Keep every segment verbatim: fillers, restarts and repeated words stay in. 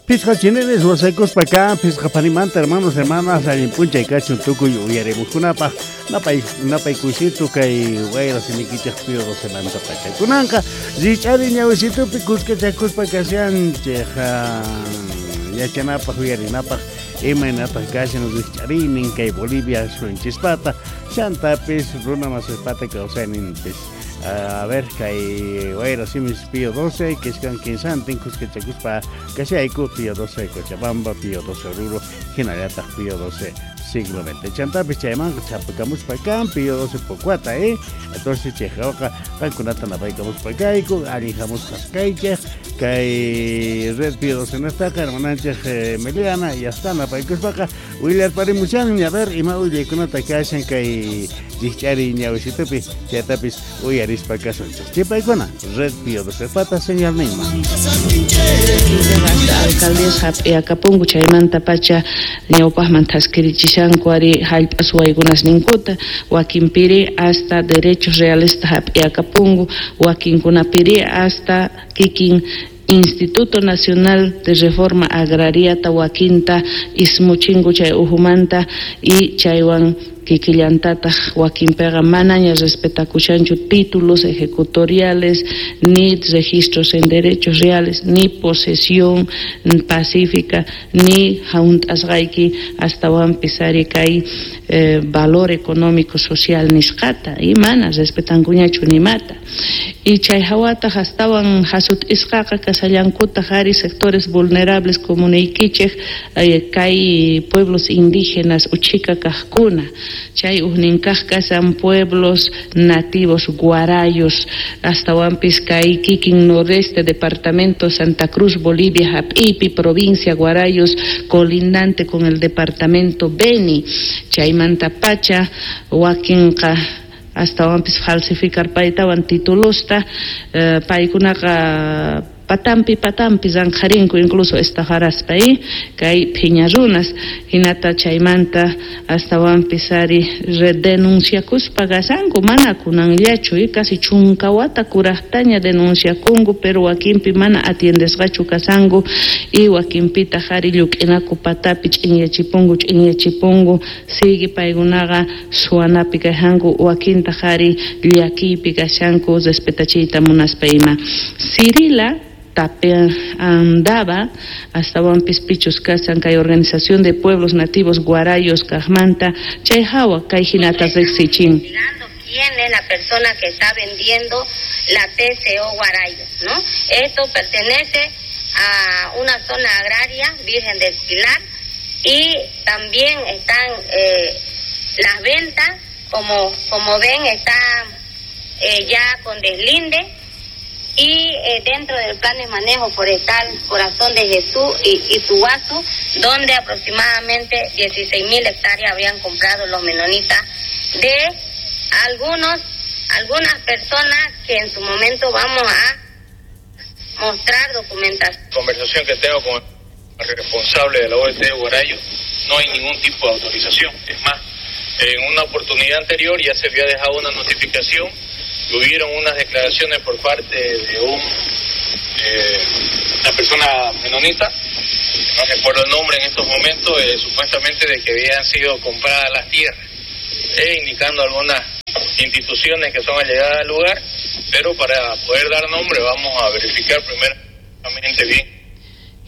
Pisqa chinenes wasaykuspa kan, pisqa panimanta hermanos, hermanas, allin p'unchay kachun tukuy uyarimuqkunapaq napay napay kusitu kay wayra simikichaq Pío Docemanta pacha. Kunanqa rich'ari ñawisitupi kuskachakuspa kashanchej yachanapaq uyarinapaq imaynataq kashan rich'ariynin kay Bolivia suyunchispata chantapis runa masispata kawsayninpis. A ver, kay wayra simis Pío doce, kiskan kinsantin kuskachakuspa kashayku Pío doce Cochabamba, Pío doce Oruro, hinallataq Pío doce siglo veinte. Chantapis chaymanqa chapakamuspa kan Pío doce Pocuata, eh? Entonces chayqa qankunata napaykamuspa kayku, allin hamusqas kaychej, kay red Pío doce nestaqa hermananchej eh, Meliana, ya está napaykuspaqa willarparimushan, a ver, ima willaykunata kashan kay rich'ari ñawisitupi, chaytapis uyarispa kasunchej. Chipaykuna, red Pío doce pata señalninman. Alcaldías hap'iakapunku chaymanta pacha ñawpaqman thaskirichishanku ari hallp'a suwaykunasninkuta, wakinpiri hasta derechos reales hap'iakapunku, wakinkunapiri hasta kikin Instituto Nacional de Reforma Agrariata wakinta ismuchinku chay uhumanta y chaywan kikillantataq wakinpiqa manaña respetakushanchu títulos ejecutoriales, ni registros en derechos reales, ni posesión pacífica, ni hunt'asqayki astawanpis ari kay eh, valor económico social nisqata, y mana respetankuñachu nimata. Y chay hawataq astawan hasut'isqaqa kasallankutaq ari sectores vulnerables como niykichej eh, kay pueblos indígenas uchika kaqkuna, chay ujninkaq kasan pueblos nativos guarayos, astawanpis kay kikin noreste departamento Santa Cruz, Bolivia, hap'iypi, provincia Guarayos, colindante con el departamento Beni, chaymanta pacha wakinqa astawanpis falsificar paytawan titulosta, eh, paykunaqa patampi patampi zanjarinku incluso estafaraspa, eh? Kay phiña runas hinata chaymanta astawanpis ari denunciakuspa kasanku mana kunanllachu, eh? Casi chunka wata kuraqtaña denunciakunku, pero wakinpi mana atiendesqachu kasanku y wakinpitaq ari lluk'inaku patapi ch'inyachipunku ch'inyachipunku sigue paykunaqa suwanapi kashanku, wakintaq ari llakiypi kashanku respetachiyta munaspa ima. Cirila Tapia andaba astawanpis pichus kasan kay organización de pueblos nativos guarayos kajmanta chay hawa kay hinata riqsichin. ¿Quién es la persona que está vendiendo la T C O Guarayo, no? Esto pertenece a una zona agraria Virgen del Pilar y también están eh, las ventas, como, como ven, están eh, ya con deslinde. Y eh, dentro del plan de manejo forestal Corazón de Jesús y Ituguazú, donde aproximadamente dieciséis mil hectáreas habían comprado los menonitas de algunos, algunas personas que en su momento vamos a mostrar documentación. Conversación que tengo con el responsable de la O E T de Guarayo, no hay ningún tipo de autorización. Es más, en una oportunidad anterior ya se había dejado una notificación. Hubieron unas declaraciones por parte de un, eh, una persona menonita, no recuerdo el nombre en estos momentos, eh, supuestamente de que habían sido compradas las tierras, eh, indicando algunas instituciones que son allegadas al lugar, pero para poder dar nombre vamos a verificar primeramente bien.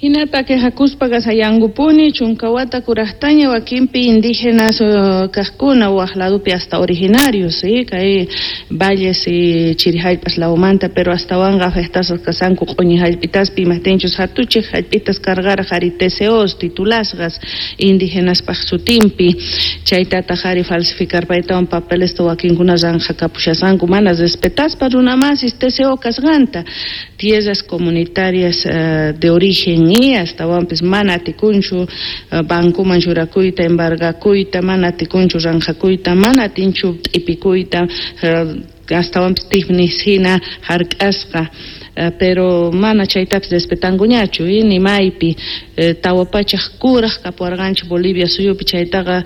Hinata quejakuspa kasayankupuni chunkawata kuraqtaña wakinpi indígenas uh, kaqkuna waq ladupi hasta originarios, ¿sí? Kay valles y chirihallpas lawmanta, pero astawanqa afectasqas kasanku q'uñi hallp'itaspi imajtinchus hatuchej hallp'itas cargaraq ari T C Os titulasqas indígenaspaq sutinpi, chaytataq ari falsificar paytawan papelesta wakinkuna ranjakapushasqanku mana respetaspa runamasis T C O kasqanta, tierras comunitarias uh, de origen y astawanpis mana atikunchu uh, bankuman churakuyta, embargakuyta, mana atikunchu ranjakuyta, mana atinchu t'ipikuyta, uh, astawanpis tifnis hina hark'asqa. Pero mana chaytapis respetankuñachu ni maypi tawa pachaj kuraj kapuwarqanchik Bolivia suyupi chaytaqa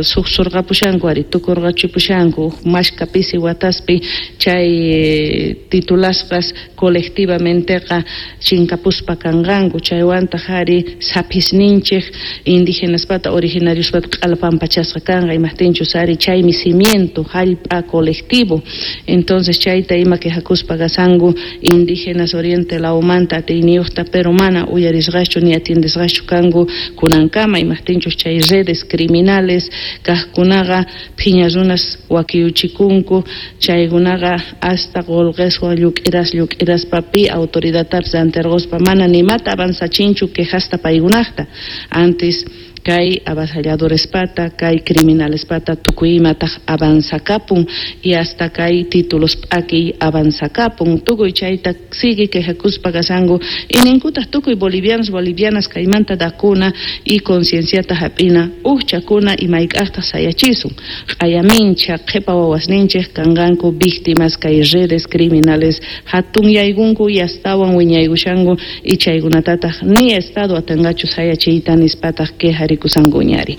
suqsurqapushanku ari tukurqachipushanku mashka pisi wataspi chay titulasqas colectivamenteqa chinkapuspa kanqanku chaywantaq ari saphisninchik indigenaspata originariospata q'alpampachasqa kanqa imajtinchus ari chaymi cimiento jallp'a colectivo. Entonces chayta ima quejakuspa kasanku indígenas oriente lawmanta atiyniyuqta pero mana uyarisqachu ni atiendesqachu kanku kunankama imajtinchus chay redes criminales kaqkunaqa phiña runas wakiyuchikunku chaykunaqa hasta qolqeswan lluk'iras lluk'iraspa pi autoridadtapis anterqospa mana nimata avanzachinchu quejasta paykunaqta antes kay avasalladorespata kay criminalespata tukuy imataq avanzakapun y hasta kay títulos p'akiy avanzakapun tukuy chayta sigue quejakuspa kasanku y ninkutaq tukuy bolivianos bolivianas kaymanta dakuna y concienciata hap'ina ujchakuna y mayk'aqtaq sayachisun q'ayamincha qhipa wawasninchik kanqanku víctimas kay redes criminales hatunyaykunku y astawan wiñaykushanku y chaykunatataq ni estado atanqachu sayachiyta nispataq queja rikusankuñari.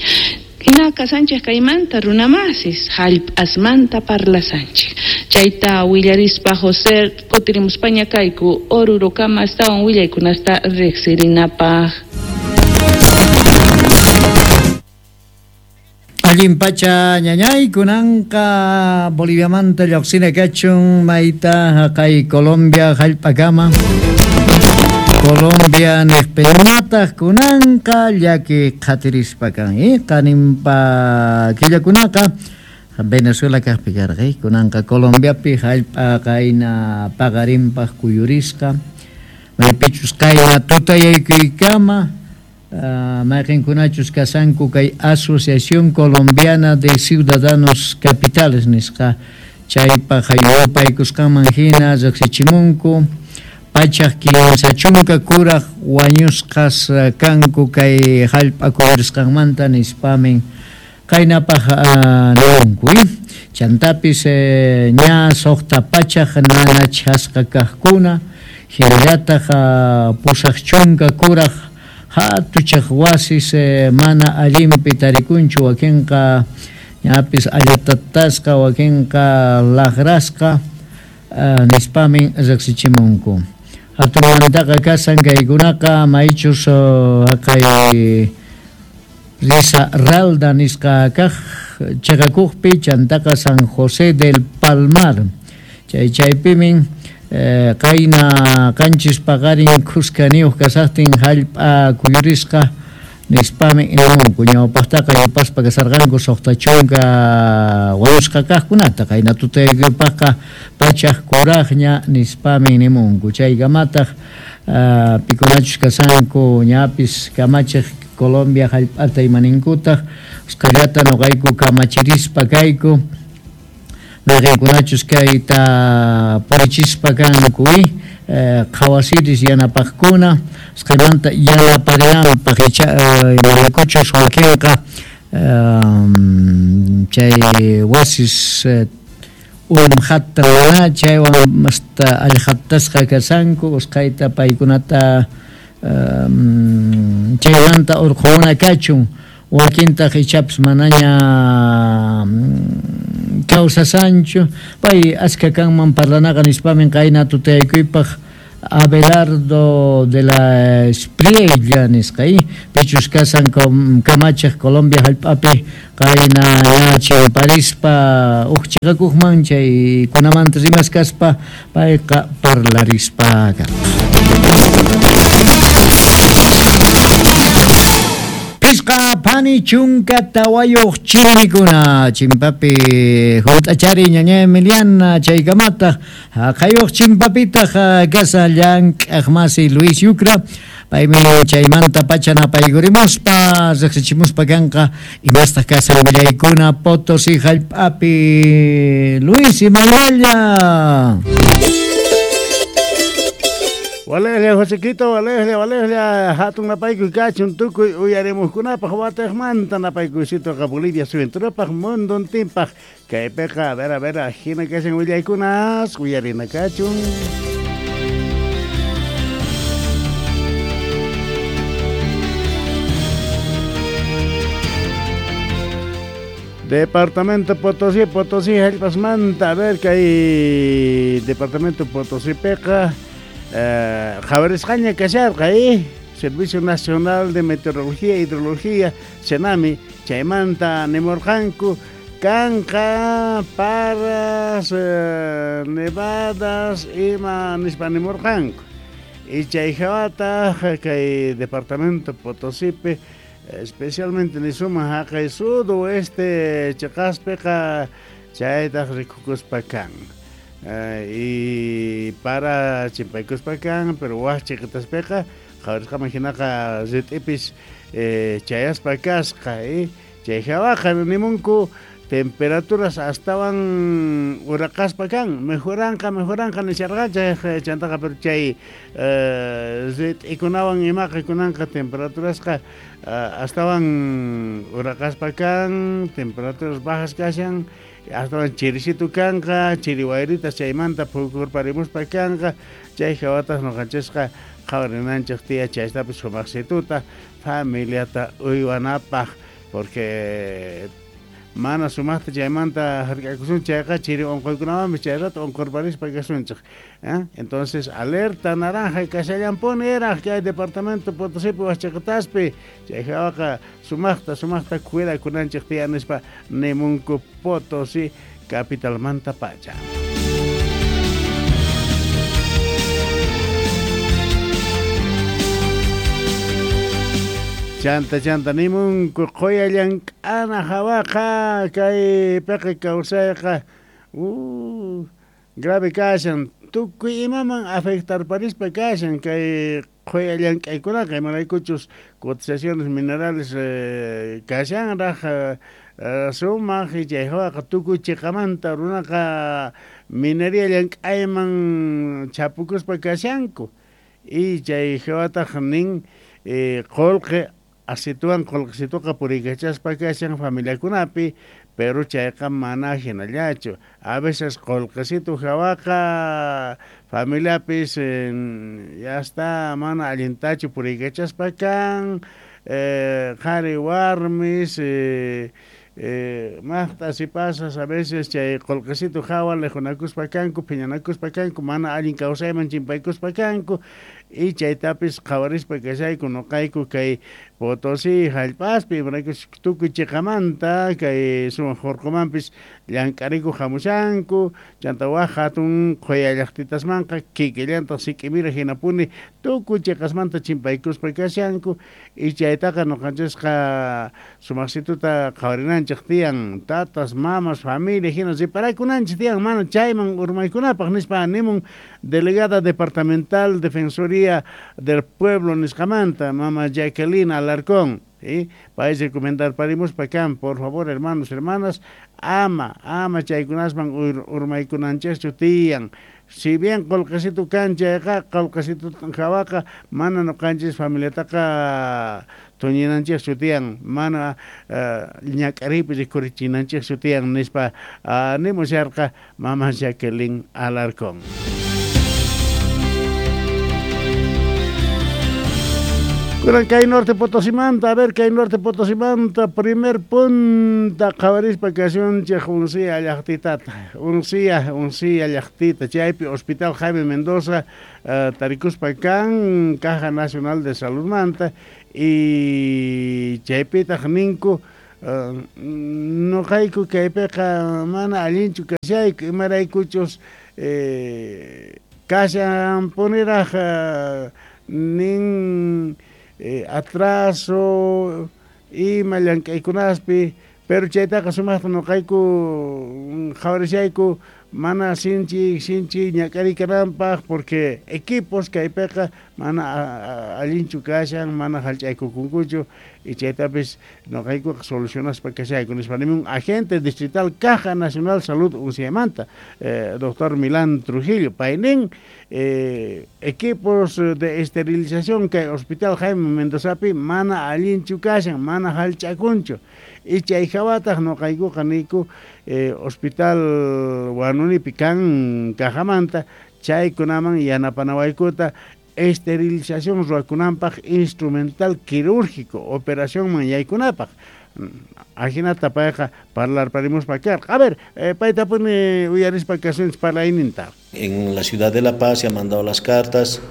Hina kasanchik kaymanta runamasis jallp'asmanta parlasanchik chayta willarispa José kutirimuspaña kayku Orurokama astawan willaykunasta riqsirinapaq. Allin pacha ñañay kunanqa Boliviamanta lluqsina kachun mayta haqay Colombia jallp'akama Colombia niqpiñataq kunanqa llaki qhatirispa kan qaninpa killakunaqa Venezuela kaqpi karqa kunanqa Colombiapi jallp'a qayna paqarinpaq kuyurisqa maypichus qayna tutayaykuykama mayqinkunachus kasanku kay Asociación Colombiana de Ciudadanos Capitales nisqa chaypaq yupaykusqanman hina riqsichimunku pachaj kinsa chunka kuraj wañusqas kanku kay jallp'a kuyurisqanmanta nispamin qaynapaq nimunku chantapis ña suqta pachaj nanachasqa kaqkuna hinallataq pusaq chunka kuraj hatuchaq wasis mana allinpi tarikunchu wakinqa ñapis allatatasqa wakinqa laqrasqa nispamin riqsichimunku. Hatunmantaqa kasan kaykunaqa maychus haqay Risaralda nisqa kaq chiqakuqpi chantaqa San José del Palmar chay chaypimin qayna qanchis paqarin khuskaniyuq kasaqtin jallp'a kuyurisqa nispami nimunku ñawpaqtaqa yupaspa kasarqanku suqta chunka wañusqa kaqkunata qayna tutaykupaqqa pachaj kuraqña nispami nimunku chaykamataq pikunachus kasanku ñapis kamachiq Colombia jallp'ata imaninkutaq usqhayllata nuqayku kamachirispa kayku mayqinkunachus kayta purichispa kanku qhawasiris yanapaqkuna usqhaymanta yanaparinanpaq icha imaraykuchus wakinqa chay wasis umhatta mana chaywan hasta allqatasqa kasanku usqhayta paykunata chaymanta urqhuna kachun wakintaq ichapis manaña kawsasanchu pay aska kanman parlanaqa nispamin qayna tutayaykuypaq Abelardo de la Espriella nisqa pichus kasan kamachiq Colombia jallp'api qayna chimparispa uj chiqakuqman chay kunamanta rimaskaspa payqa parlarispa karqa. Pisqa pani chunka tawayuq chirikuna chimpapi hunt'achari ñaña Emiliana chaykamataq haqayuq chimpapitaq kasa llank'aq masi Luis Yucra paymi chaymanta pacha napaykurimuspa riqsichimuspa kanqa imastaq kasa willaykuna Potosí jallp'api Luis imaynalla. Walejlla Josequito, walejlla, walejlla, hatun napaykuy kachun tukuy uyarimuqkunapaq wataqmanta napaykuycitoqa Bolivia suyunturapaq munduntinpaq kaypiqa a ver a ver hina kashan willaykunas uyarina kachun. Departamento Potosí, Potosí, hallpasmanta, a ver kay Departamento Potosí peqa eh, qhawarisqaña kasharqa eh? Servicio Nacional de Meteorología e Hidrología, SENAMI, chaymanta nimurqanku kanqa paras, eh, nevadas ima nispa nimurqanku. Y chay hawataq kay Departamento Potosípi especialmente nisuma haqay sudoeste chiqaspiqa chaytaq rikukuspa kan. Uh, y para chimpaykuspa kan, pero waj chiqitaspiqa qhawarisqaman hinaqa rit'ipis eh, chayaspa kasqa eh. Chay hawaqa nimunku temperaturas astawan uraqaspa kan, mejoranqa mejoranqa nisharqanchej chantaqa, pero chay eh, rit'ikunawan imaqa kunanqa temperaturasqa uh, astawan uraqaspa kan, temperaturas bajas kashan, astawan chirisitu kanqa, chiri wayritas chaymanta phukurparimuspa kanqa, chay hawatas noqanchisqa qhawarinanchej tiya chaytapis sumaqsituta familiata uywanapaq, porque mana sumaqta chaymanta hark'akusun chayqa chiri unquykunawanpis chay rato unqurparispa kasunchej. ¿Eh? Entonces alerta naranja kashallanpuni eraj kay Departamento Potosípi wajchiqitaspi chay hawaqa sumaqta sumaqta cuidakunanchej tiyan nispa nimunku Potosí capitalmanta pacha. Chanta chanta nimunku qoya llank'ana hawaqa kay peqe kawsayqa uh, grave kashan tukuy imaman afectarparispa kashan kay qoya llank'aykunaqa imaraykuchus cotizaciones minerales eh, kashanraj eh, sumaq y chay hawaqa tukuy chiqamanta runaqa minería llank'ayman chapukuspa kashanku y chay hawataq nin eh, qolqe asituan qolqesituqa puriykachaspa kashan familiakunapi, pero chayqa mana hinallachu. A veces qolqesitu hawaqa familiapis eh, ya está mana allintachu puriykachaspa kan, eh, qhari warmis eh, eh, maqta si pasas a veces chay qolqesitu hawa lijunakuspa kanku, phiñanakuspa kanku, mana allin kawsayman chimpaykuspa kanku. Y chaytapis qhawarispa kashayku noqayku kay Potosí hallp'aspi imaraykus tukuy chiqamanta kay sumaq hurqumanpis llank'ariku hamushanku chanta waj hatun qhuya llaqtitasmanqa kikillantaq sik'imira hinapuni tukuy chiqasmanta chimpaykuspa kashanku y chaytaqa noqanchisqa sumaqsituta qhawarinanchik tiyan tatas, mamas, familia hina riparakunanchik tiyan mana chayman urmaykunapaq nispa nimun delegada departamental Defensoría del Pueblo nisqamanta mama Jacqueline Alarcón, ¿sí? País recomendar parimos pa kan, por favor, hermanos, hermanas, ama, ama chaykunasman ur, urmaykunanchikchu tiyan. Si bien qolqesitu kan chayqa qolqesitu hawaqa mana noqanchis familiataqa tuñinanchikchu tiyan, mana uh, ñak'ariypi rikurichinanchikchu tiyan nispa uh, nimusharqa mama Jacqueline Alarcón. Kunan kay Norte Potosimanta, a ver kay Norte Potosimanta, primer punta qhawarispa kasunchej Uncía llaqtitata, Uncía, Uncía llaqtita, chaypi Hospital Jaime Mendoza, uh, tarikuspa kan, Caja Nacional de Salud manta, y chaypitaq ninku, uh, noqayku kaypiqa mana allinchu kashayku, imaraykuchus eh, kashan puniraj uh, nin Eh, atraso ima llank'aykunaspi, pero chaytaqa sumaqta noqayku qhawarishayku mana sinchi sinchi ñak'ariy kananpaq porque equipos kaypiqa mana allinchu kashan, mana hallch'aykukunkuchu y chaytapis noqaykuqa solucionaspa kashayku nispa nimun agente distrital Caja Nacional Salud Unciamanta, eh, doctor Milán Trujillo, paynin eh, equipos de esterilización kay Hospital Jaime Mendozapi mana allinchu kashan, mana hallch'akunchu y chay hawataq noqaykuqa niku eh, Hospital Huanunipi kan cajamanta chaykunaman yanapanawaykuta esterilización ruwakunanpaq instrumental quirúrgico operacionman yaykunapaq Ajinata payqa parlarparimuspa karqa. A ver, eh, paytapuni uyarispa kasunchis parlayninta. En la ciudad de La Paz se han mandado las cartas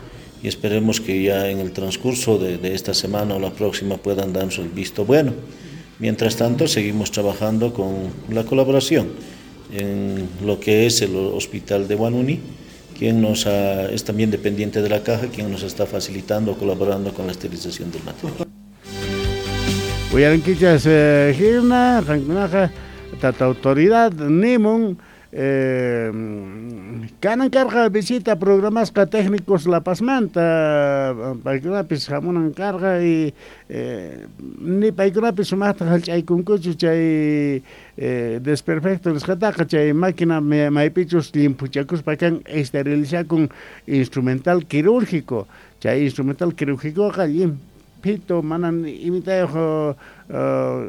y esperemos que ya en el transcurso de, de esta semana o la próxima puedan darnos el visto bueno. Mientras tanto, seguimos trabajando con la colaboración en lo que es el hospital de Huanuni, quien nos ha, es también dependiente de la caja, quien nos está facilitando, colaborando con la esterilización del material. Uyarinkichas hina, qankunaqa tata autoridad nimun eh, kanan karqa visita programasqa técnicos La Pazmanta paykunapis hamunan karqa y eh, ni paykunapis sumaqta hallch'aykunkuchu chay eh, desperfecto nisqataqa chay máquina maypichus llimphuchakuspa kan esterilizakun instrumental quirúrgico chay instrumental quirúrgicoqa llimphito manan imitayuq uh,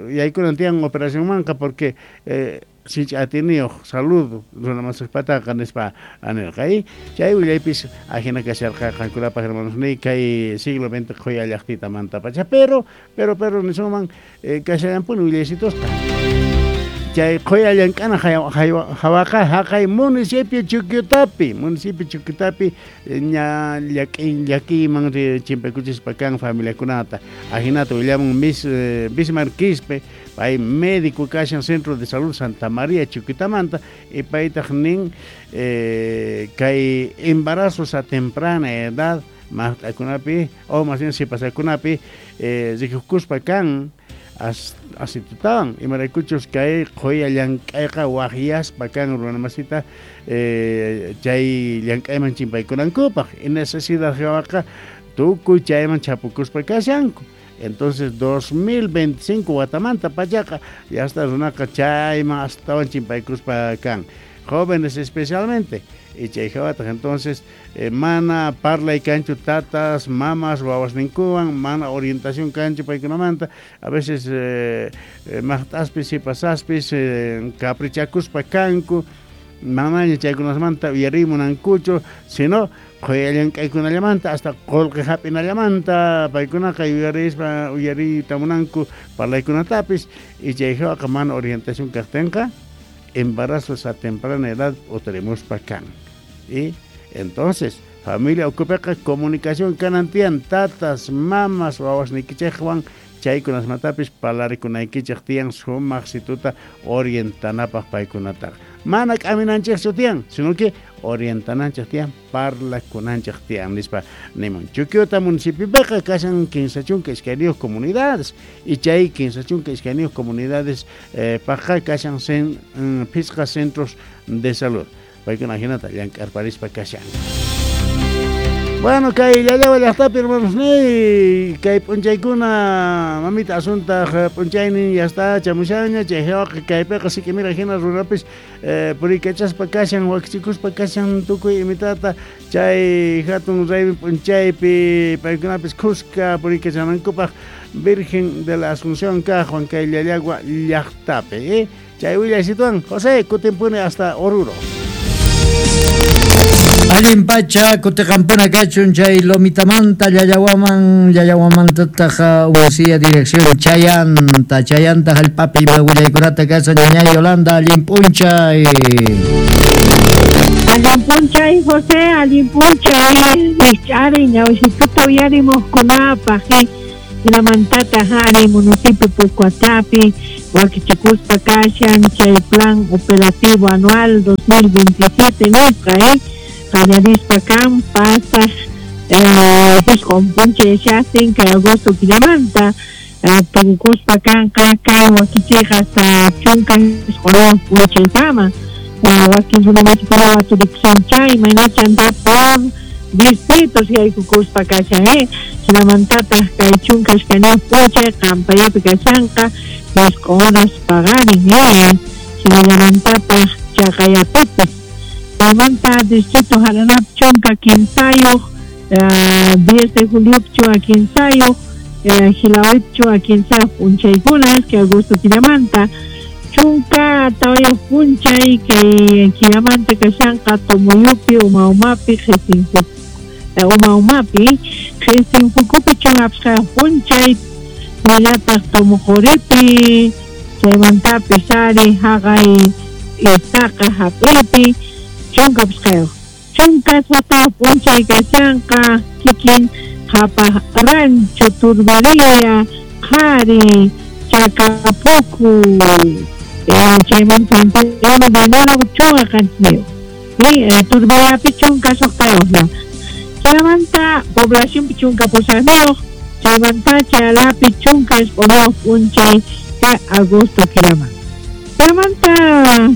yaykunan tiyan operacionmanqa porque eh, sinchi atiniyuq salud runamasipataqa nispa anirqa y chay willaypis ajina kasharqa qankunapaq hermanos ni kay siglo veinte qhuya llaqtitamanta pacha pero pero pero nisunman eh, kashallanpuni willaysitosqa chay qhuya llank'ana hawaqa haqay municipio Chuquiutapi municipio Chuquiutapi ña llaki llakiyman chimpaykuchispa kan familiakunata ajinata willamun mis eh, Bismarck Quispe pay médico kashan Centro de Salud Santa María Chuquiutamanta y paytaq nin eh, kay embarazos a temprana edad maqt'akunapi o más bien sipasakunapi eh, rikukuspa kan as asitutawan imaraykuchus kay qhuya llank'ayqa waqyaspa kan runamasita eh, chay llank'ayman chimpaykunankupaq y necesidad hawaqa tukuy chayman chapukuspa kashanku. Entonces dos mil veinticinco watamanta pachaqa ya hasta runaqa chayman astawan chimpaykuspa kan jóvenes especialmente y chay hawataq entonces eh, mana parlay kanchu tatas mamas wawasninkuwan mana orientación kanchu paykunamanta a veces eh, eh, maqt'aspis sipasaspis eh, caprichakuspa kanku manaña chaykunasmanta uyarimunankuchu sino qhuya llank'aykunallamanta hasta qullqi hap'inallamanta paykunaqa yuyarispa uyariyta munanku parlaykunatapis y chay hawaqa mana orientación kaqtinqa embarazos a temprana edad utarimuspa kan y entonces familia ukupiqa comunicación kanan tiyan tatas mamas wawasniykichikwan chaykunasmatapis parlarikunaykichik tiyan sumaq situta orientanapaq paykunataqa mana k'aminanchikchu tiyan sino que orientananchik tiyan parlakunanchik tiyan nispa nimun Chuquiuta municipiopiqa kashan kinsa chunka iskayniyuq comunidades y chay kinsa chunka iskayniyuq comunidades eh, paqqa kashan sen, mm, phisqa centros de salud paykuna hinata llank'arparispa kashan. Bueno, kay Llallawa llaqtapi hermanos ni kay p'unchaykuna mamita Asuntaq p'unchaynin ya está chamushaña chay hawaqa kaypiqa sikimira hina runapis eh, puriykachaspa kashan wakichikuspa kashan tukuy imitata chay hatun raymi p'unchaypi paykunapis khuska puriykachanankupaq Virgen de la Asunción kaqwan kay Llallagua llaqtapi eh? Chay willaysituwan José kutinpuni hasta Oruro. Allin pacha kutiqampuna kachun chay Lomitamanta Llallawaman Llallawamantataq usia dirección Chayanta Chayanta hallp'api willaykunata kashan ñañay Yolanda allin p'unchay. Allin p'unchay José, allin p'unchay rijch'ari ñawsituta uyarimuqkunapaq hinamantataq ari municipio Pucuatapi wakichikuspa kashan chay plan operativo anual dos mil veintisiete nisqa eh qallarispa kan pasaq isqun p'unchay yashaqtin kay agosto killamanta tukukuspa kanqa kay wakichiyqa hasta chunka isqunayuq p'unchaykama wakin runamasikuna waturikushan chay imaynachanta por distritos yaykukuspa kashan eh hinamantataq kay chunka iskayniyuq p'unchay qampayapi kashanqa isqun horas paqarin eh hinallamantataq chaqayapipis chaymanta distrito Jaranap chunka kinsayuq diez de julio chunka kinsayuq Jilawip chunka kinsayuq p'unchaykuna kay agosto killamanta chunka tawayuq p'unchay kay killamanta kashanqa Tomoyupi Uma Umapi Qhisinfuku Uma Umapi Qhisinfukupi chunka phishqayuq p'unchay hinallataq Tomoqoripi chaymantapis ari haqay Istaqa hap'iypi chunka pisqayuq chunka suqtayuq p'unchay kashanqa kikin Qhapaq Rancho Turbería qhari Chacapuku chaymanta uno de enero chunka qanchisniyuq Turberiapi chunka suqtayuqlla chaymanta poblacionpi chunka pusaqniyuq chaymanta Chalapi chunka isq'unyuq p'unchay kay agosto killaman chaymanta kay